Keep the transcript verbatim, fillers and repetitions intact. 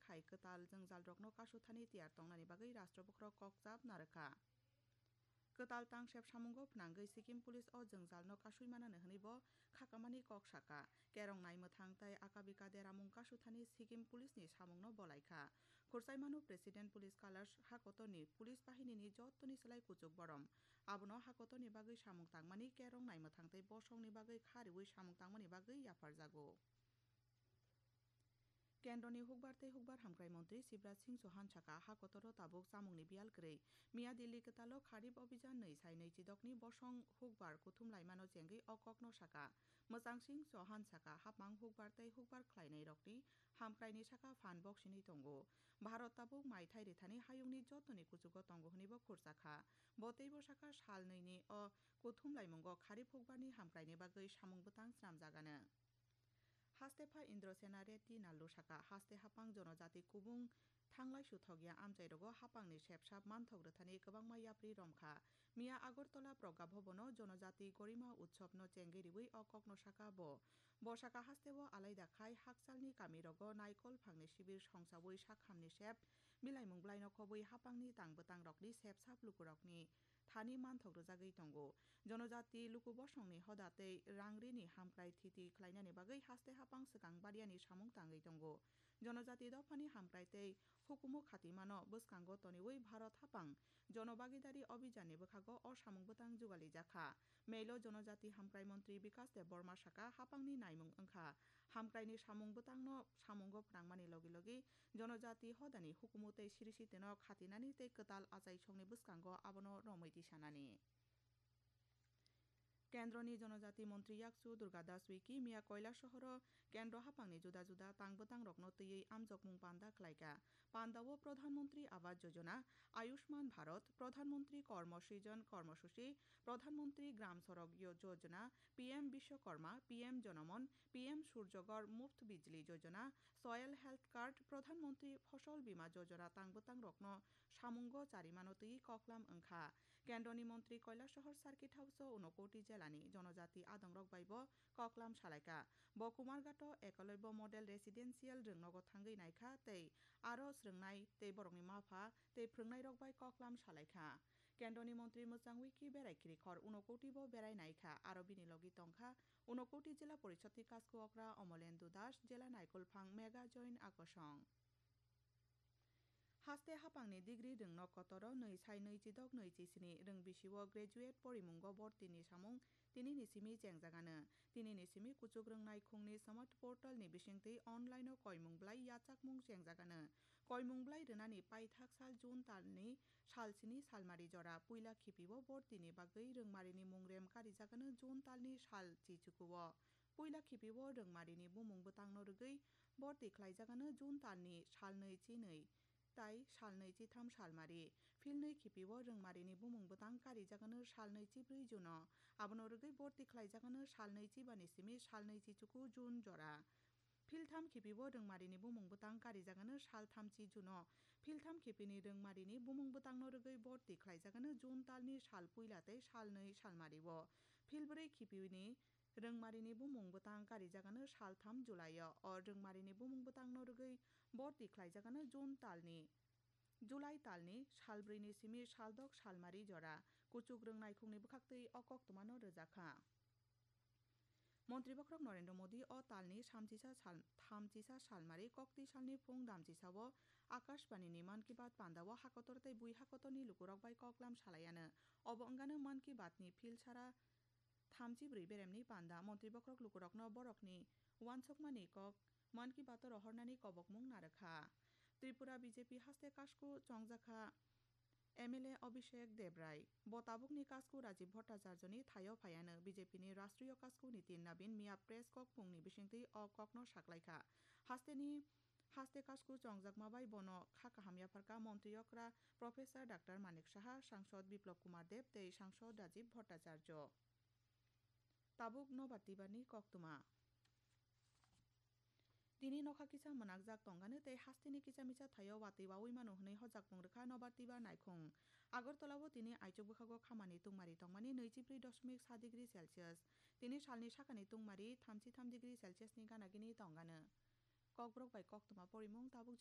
hai kwtal jwngjalrokno kasuthani tiyar tongnani bagwi rashtra bokhorok kokchap narwkha. Kwtal tangsep samungo phnangwi Sikkim Police o jwngjalno kasui manani hwnwi bo khakamani kok sakha. Kerong naimwthang tei akabika deramung kasuthani Sikkim Police ni samungno bolaikha. Khursaimano President Police Kailash hakotorni police bahinini jottoni slai kuchuk borom. Abono hakotorni bagwi samung tangmani, kerong naimwthang tei bosongni bagwi kha riwi samung tangmani bagwi yapharjago. Kendroni hukbar tei hukbar hamkrai montri Shivraj Singh Chauhan saka, hakotoro tabuk chamungni biyal kwrwi. Miya Delhi kwtalo Kharif Abhijan nwi sai nwi chidokni bosong hukbar kuthum laimano chengwi o kokno saka. Mwchang Singh Chauhan saka, hapmang hukbar tei hukbar khlainairokni hamkraini saka phan boksinwi tongo. Bharat tabuk maithai rithani hayungni jotoni kuchugo tongo hwnwi bo khurchakha. Bo teibo saka sal nwini o kuthum laimungo Kharif hukbarni hamkraini bagwi samung bwtang snamjagano. Haste pha Indrasena Reddy Nallu saka, haste hapang jonojati kubung thanglai suthokya amchairogo hapangni sepsap manthok rwthani kwbangma yapri romkha. Miya Agartala Pragya Bhabono Jonojati Gorima Utsobno chengwi riwi o kokno saka bo. Bo saka hasteo alaida khai hakchalni kamirogo naikol phangni sibir songsawi sakhamni sep milaimung blaino khobwi hapangni tang bwtangrokni sepsap lukurokni thani manthok rwjagwi tongo. Jonojati luku bosongni hoda tei rangrini hamkrai thiti khlainani bagwi haste hapang swkang bariani samung tangwi tongo. Jonojati dophani hamkrai tei hukumu khatimano bwskango toniwi Bharat hapang Jonobagidari Abhijanni bwkhago o samung bwtang jugalijakha. Meilo Jonojati Hamkrai Montri Bikas Debbarma saka, hapangni naimung wngkha. Hamkraini samung bwtangno samungo phnangmani logi logi Jonojati hodani hukumu tei siri sitino khatinani tei kwtal achaisongni bwskango abono romwi tisanani. Kendroni Jonojati Montri Yakchu Durga Das Uiki miya Koilasohoro Kendro hapangni juda juda tang bwtangrokno twiwi amjokmung panda khlaikha. Pandao Pradhan Mantri Awas Yojana, Ayushman Bharat, Pradhan Mantri Karma Srijan Karma Suchi, Pradhan Mantri Gram Sadak Yo-, Yojana, P M Bishwakarma, P M Janaman, P M Surya Ghar Muft Bijli Yojana, Soil Health Card, Pradhan Mantri Fasal Bima Yojana tang bwtangrokno samungo charimano twiwi koklam wngkha. Kendroni Montri Koilasohor Circuit House-o Unakoti jelani Jonojati adongrok bai bo koklam salaikha. Bo Kumarghato Ekalobya Model Residential rwngnogo thangwi naikha tei aro swrwngnai tei borokni mapha tei phrwngnairok bai koklam salaikha. Kendroni Montri Mwchang Uiki berai khirikhor Unakoti bo berai naikha, aro bini logi tongkha Unakoti Jila Porishodni Kasku Okra Omolendu Das, Jila Naikolphang Megha Join Akosong. Haste hapangni degree rwngno kotoro nwi sai nwi chidok nwi chisini rwng bisio graduate porimungo bortini samung tinini simi chengjagano. Tinini simi kuchuk rwng naikhungni smart portal ni bisingtwi online o koimung blai yachakmung chengjagano. Koimung blai rwnani paithak sal June talni sal sini salmari jora puila khipio bortini bagwi rwngmarini mungrem karijagano June talni sal chichukuo. Puila khipio rwngmarini bumung bwtangno rwgwi borti khlaijagano June talni sal nwi chinwi tai sal nwi chitham salmari. Philnwi khipio rwngmarini bumung bwtang karijagano sal nwi chibrwi June-o. Abono rwgwi borti khlaijagano sal nwi chibani simi sal nwi chichuku June jora. Philtham khipio rwngmarini bumung bwtang karijagano sal thamchi June-o. Philtham khipini rwngmarini bumung bwtangno rwgwi borti khlaijagano June talni sal puila tei sal nwi salmario. Philbrwi khipini rwngmarini bumung bwtang karijagano sal tham July-o. O rwngmarini bumung bwtangno rwgwi borti khlaijagano June talni, July talni sal brwini simi sal dok salmari jora. Kuchuk rwng naikhungni bwkhaktwi o koktwmano rwjakha. Montri bokhorok Narendra Modi o talni samchisa sal-, thamchisa salmari koktwi salni phung damchisao Akashbanini Mann Ki Baat pandao hakotor tei bui hakotorni lukurok bai koklam salaiano. Obo wngano Mann Ki Baatni philsara thamchi brwi beremni panda. Montri bokhorok lukurokno borokni uansukmani kok Mann Ki Baat-o rohornani kobokmung narwkha. Tripura B J P haste kasku chongjakha M L A Abhishek Debrai. Bo tabukni kasku Rajiv Bhattacharjoni thaio phaiano B J P ni Rashtriyo Kasku Nitin Nabin miya press kok phungni bisingtwi o kokno saklaikha. Hasteni, haste kasku chongjakma bai bono kha kaham yapharkha Montri okra Professor Doctor Manik Saha, Sangsod Biplab Kumar Deb tei Sangsod Rajiv Bhattacharjo. Tabuk nobar tibarni koktwma. Tini nokha kisa mwnakjak tongkha tei hasteni kisa misa thaio watwi wawi mano hwnwi hojakmung rwkha nobar tibar naikhung. Agartala-o tini aichuk bwkhago khamani tungmari tongmani nwichibrwi doshmik sa degree Celsius. Tini salni sakani tungmari thamchi tham degree Celsius ni gana gini tongkha. Kokborok bai koktwma porimung tabuk